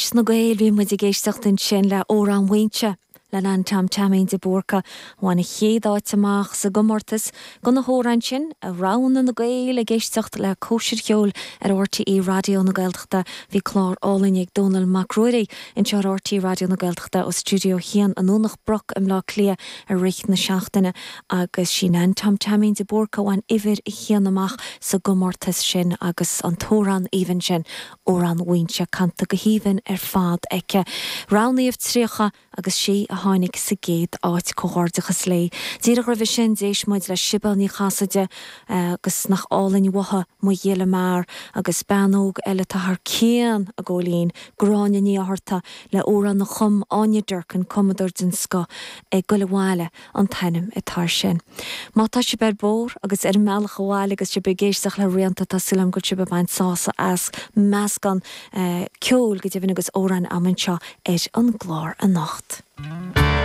Leis na Gaeil, bhí muid ag éisteacht ansin le Amhrán Mhaínse le Nan Tom Teaimín de Búrca, a bhain an chéad áit amach sa gcomórtas do na hamhráin sin a roghnaigh na Gaeil ag éisteacht le Cóisir Cheoil ar RTÉ Raidió na Gaeltachta. Bhí clár álainn ag Dónall Mac Ruairí anseo ar RTÉ Raidió na Gaeltachta ó Stiúideo 1 i nDomhnach Broc i mBleá Cliath i rith na seachtaine agus sí Nan Tom Teaimín de Búrca a bhain uimhir a haon amach sa gcomórtas sin agus an t-amhrán aoibhinn sin Amhrán Mhaínse canta go haoibhinn ar fad aici. Roghnaíodh 30 agus sí a tháinig sa gcéad áit. Comhghairdeachas léi. Díreach roimhe sin d'éist muid le Sibéal Ní Chasaide agus nach álainn uathu Mo Ghile Mear agus bean óg eile atá thar cionn a Góilín, Gráinne Ní Fhátharta le amhrán a chum Áine Durkin, cumadóir den scoth, Ag Goil Abhaile. an t-ainm atá air sin. Má tá sibh ar bóthar agus ar an mbealach abhaile agus sibh ag éisteacht le Rianta, tá súil agam go bhfuil sibh ag baint sásamh as meascán ceoil go deimhin agus amhráin agam anseo ar an gclár anocht.